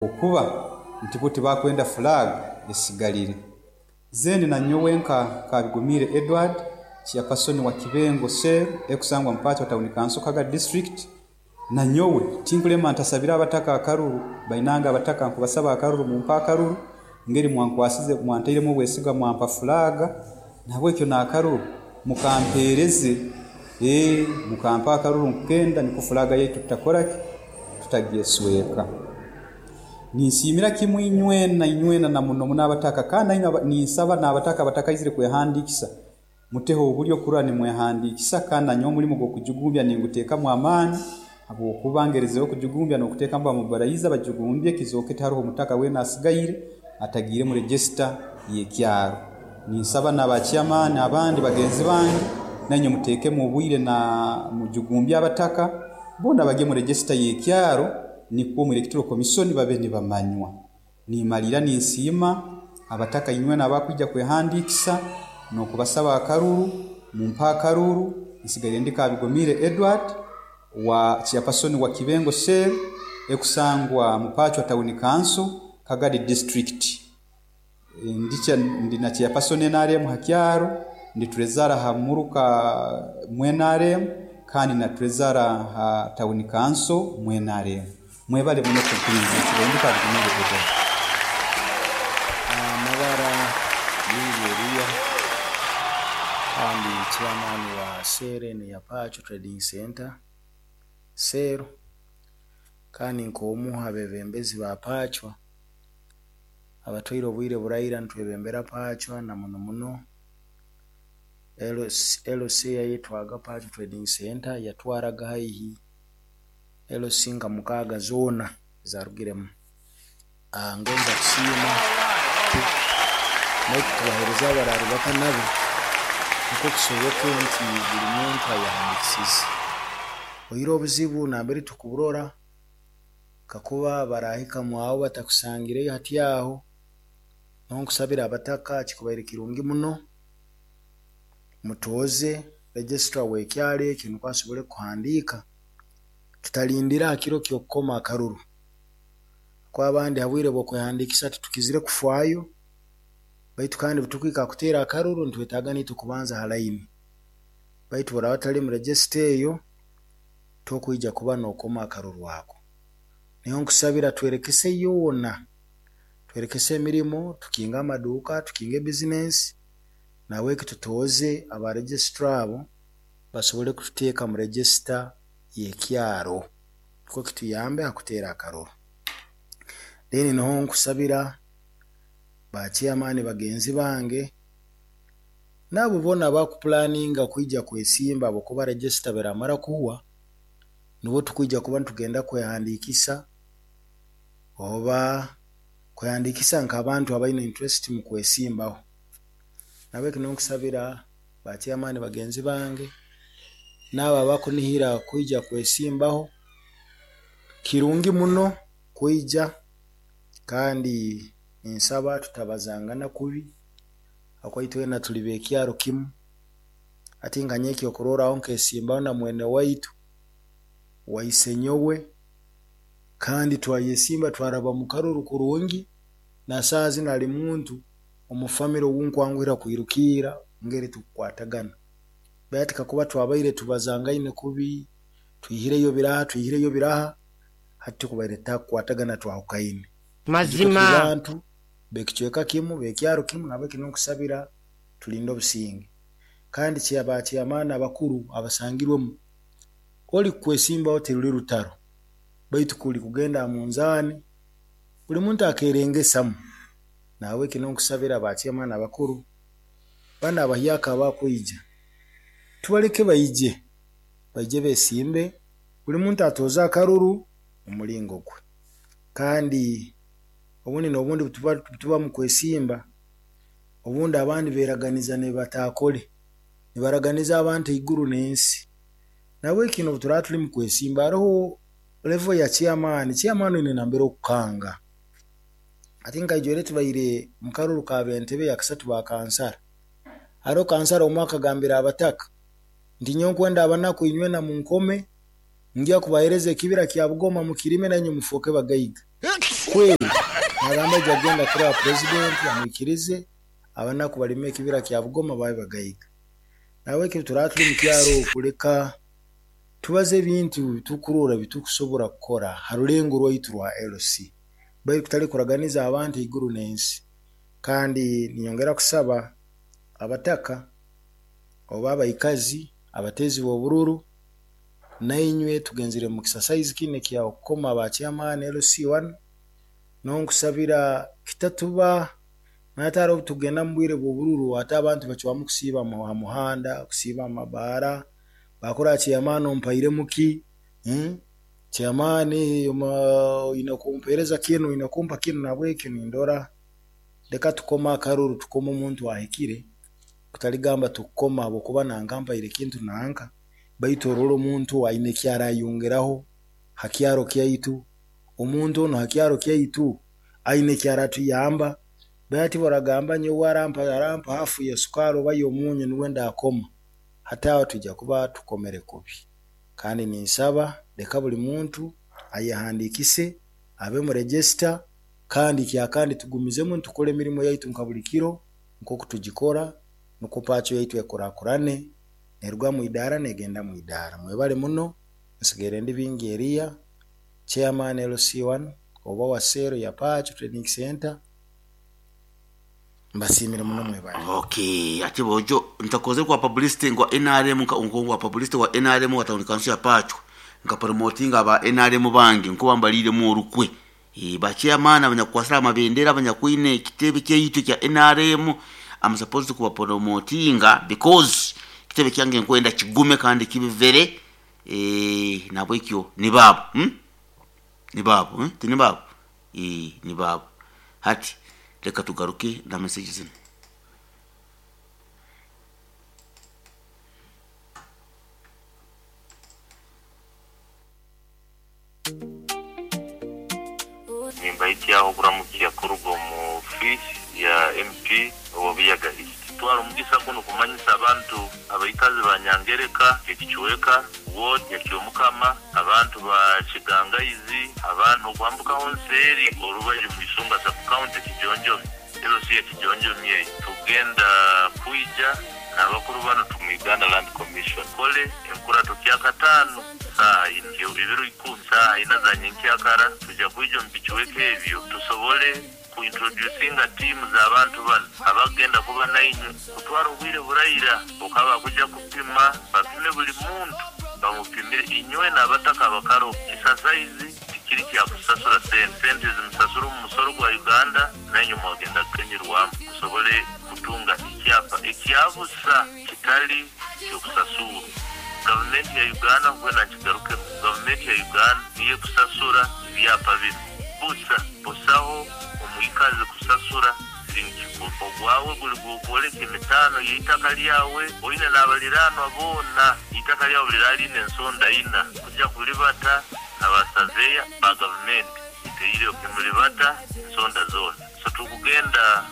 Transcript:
Okuba nti bo tibakwenda flag esigalire. Then nanyowe nka Kabigumire Edward, chairperson wa Kibengo Cell ekusangwa mu Pachwa Town Council, Kagadi District, nanyowe tinkulema ntasabire abataka akaruru. Bainange abataka, nkubasaba akaruru, mumpe akaruru ngeri mwankwasize, mwantairemu obwesige mwampa flag, nahabwekyo n'akaruru mukampereze, mukampe akaruru nkukenda nukwo flag yaitu tutakoraki? Tutagyesweka. Ninsiimira kimu inywena inywena na muno muno abataka, kandi nainywe ninsaba n'abataka abatakaizire kwehandiikisa muteho obulyo kurora nimwehandiikisa, kandi nanyowe omulimu gw'okujugumbya ninguteekamu amaani habwokuba ngerizeho kujugumbya n'okuteekamu ba mobilizer bajugumbye kizooke tiharoho mutaka weena asigaire atagiire mu register y'ekyaro. Ninsaba n'aba chairman abandi bagenzi bange nainywe muteekemu obwire na mujugumbye abataka boona bagye mu register y'ekyaro nikwo omu Electoral Commission babe nibamanywa. Nimaliira ninsiima abataka inywena abakwija kwehandiikisa n'okubasaba akaruru, mumpe akaruru. Nsigaire ndi Kabigumire Edward, wa chairperson wa Kibengo Cell ekusangwa mu Pachwa Town Council, Kagadi District. Ndi na chairperson NRM ha kyaro, ndi treasurer ha muruka mu NRM kandi na treasurer ha Town Council mu NRM. Mwebale muno kumpuliriza. Nsigaire ndi Kabigumire Edward. Amabara Bingi Eriya, kandi chairman wa cell enu eya Pachwa Trading Center Cell, kandi nk'omu ha beebembezi ba Pachwa abatwaire obwire buraira nitwebembera Pachwa, na muno muno LC eyayetwaga Pachwa Trading Center yatwaraga haihi LC nka 6 zoona ezarugiremu. Ngonza kusiima naitwe tubaheereza abararubata nabo nukwo kisoboke nti buli muntu ayehandiikisize. Oihireho obuzibu nambere tukuburora, kakuba barahika mwawe batakusangireyo hati aho, nyowe nkusabira abataka kikubaire kirungi muno mutooze registrar w'ekyaro eki nukwo asobole kuhandiika, tutalindira ha kiro ky'okukoma akaruru, habwokuba abandi ha bwire bw'okwehandiikisa titukizire kufaayo, baitu kandi obu tukuhika ha kuteera akaruru nitwetaaga naitwe kubanza ha line, baitu obu oraaba otali mu register eyo, tokwija kuba nookoma akaruru ako. Nyowe nkusabira twerekese yoona, twerekese emirimo, tukinge amaduuka, tukinge e business, nahabweki tutooze aba registrar abo basobole kututeeka mu register y'ekyaro nukwo kituyambe ha kuteera akaruru. Then nuho nkusabira ba chairman bagenzi bange n'abo boona abakupulaninga kwija kwesimba, habwokuba register obu eraamara kuhwa, nubwo tukwija kuba nitugenda kwehandiikisa oba kwehandiikisa nk'abantu abaine interest mu kwesimbaho. Nahabweki nyowe nkusabira ba chairman bagenzi bange n'abo abakunihira kwija kwesimbaho, kirungi muno kwija, kandi ninsaba tutabazangana kubi habwokuba itwena tuli b'ekyaro kimu. Hati nka nyowe ekyokurorraho nkesimbaho na mwene waitu wa isenyowe, kandi twayesimba twaraba mu karuru kurungi, na saaha zinu ali muntu omu family ou nkwanguhira kwirukiira ngeri tukukwatagana. Baitu hati kakuba twabaire tubazangaine kubi, twihireyo biraha, twihireyo biraha, hati tukubaire tutakukwatagana, twahukaine. Mazima. Tuli bantu b'ekicweka kimu, b'ekyaro kimu, nahabweki ninkusabira tulinde obusinge. Kandi ba chairman abakuru abasangirwemu, ori kukwesimbaho tiruli rutaro, baitu kuli kugenda ha munzaani, buli muntu akeerengesamu. Nahabweki ninkusabira ba chairman abakuru, banu abahyaka abakwija, tubaleke baije, baije beesimbe, buli muntu atooze akaruru mu mulingo gwe. Kandi obundi n'obundi obu tuba mu kwesimba, obundi abandi beeraganiza n'ebi bataakole, nibaraganiza abantu eiguru n'ensi. Nahabweki n'obu turaaba tuli mu kwesimba, haroho level ya chairman, chairman oine nambere okukanga. Hati nka ijweri tubaire mu karuru k'ab'entebe yakasatu ba kansara, haroho kansara omu akagambira abataka nti nyowe nkwenda abanaku inywena munkome, ngya kubaheereza ekibira kya Bugoma mukirime nainywe mufooke bagaiga. Kweli nagamba aija kugenda kuraba purezidenti amwikirize abanaku balime ekibira kya Bugoma babe bagaiga. Nahabweki turaba tuli mu kyaro okuleka tubaze ebintu tukurora bitukusobora kukora ha rulengo rwaitu rwa LC, baitu kutali kuraganiza abantu iguru n'ensi. Kandi ninyongera kusaba abataka oba abaikazi abateezi b'obururu, nainywe tugenzere mu exercise kinu ekya kukoma ba chairman LC1, nonkusabira kitatuba natara obu tugenda mu bwire bw'obururu ate abantu bacwamu kusiiba ha muhanda, kusiiba mu mabaara, bakora chairman ompairemu ki, chairman oine kumpereza kinu, oine kumpa kinu, nahabwekyo nindora leka tukome akaruru, tukome omuntu ahikire, kutaligamba tukukoma habwokuba nanka mpaire ekintu nanka, baitu orole omuntu aine eki arayongeraho ha kyaro kyaitu, omuntu onu ha kyaro kyaitu aine eki aratuyamba, baitu oragamba nyowe arampa hafu ya sukari oba y'omunyu nuwe ndakoma, hati aho twija kuba tukomere kubi. Kandi ninsaba leka buli muntu ayehandiikise abe mu register, kandi kyakandi tugumizemu nitukora emirimo yaitu nka buli kiro nk'oku tugikora, nukwo pacho yaitu ekurakurane, neruga mu idaara negenda mu idaara. Mwebale muno, nsigaire ndi Bingi Eriya, chairman LC1 oba wa sero ya Pacho Training Center. Mbasiimire muno, mwebale. Okay, ati bojo ntakoze kwa publicity ngwa NRM nka publicity wa NRM wa town council ya Pacho, nka promoting aba NRM bange nko bambalire mu orukwe. Ba chairman abanyakwasira amabendera abanyakwine ekitebe kyaitu kya NRM, I'm supposed to kuba promotinga because kitebe kyange nkwenda kigume kandi kibivere. Nabwekyo ni babo, Ni babo, Tini babo. Ni babo. Hati leka tugaruke na message zino. Nimbaityaho kuramukia kuruga omu ofisi ya MP owa Buyaga East. Twara omugisa guno kumanyisa abantu abaikazi ba Nyangereka, ekicweka ward ya Kyomukama, abantu ba Kigangaizi, abantu okwambukaho nseeri orubaju mu Isonga sub county Kijonjomi, LC ya Kijonjomi eyo. Tugenda kwija n'abakuru bano tumu Uganda Land Commission. Kole enkurato kyakataano saaha ina, ebiro ikumi saaha ina za nyenkyakara, tujja kwija omu bicweka ebyo tusobole kuintroducinga tiimu z'abantu bano abagenda kuba nainywe kutwara obwire buraira okaba kuja kupima, bapime buli muntu bamupimire inywe n'abataka abakaro. Kisasaizi tikiri kyakusasura sente, sente zimusasura omu musoro gwa Uganda, nainywe mwagenda kukenyerwamu musobole kutunga ekyapa ekyabusa kitali kyokusasura. Gavumenti ya Uganda nkwena nkigarukemu, gavumenti ya Uganda niyo ekusasura ebyapa bino busa, busaho omwikazi kusasura siringi kikumi. Ogwawe guli gukwoleka emitaano y'eitaka lyawe, oine n'abaliranwa boona, eitaka lyawe liraline ensonda ina, kuja kulibata n'abasaveya ba gavumenti iteire nimulibata ensonda zoona. So tukugenda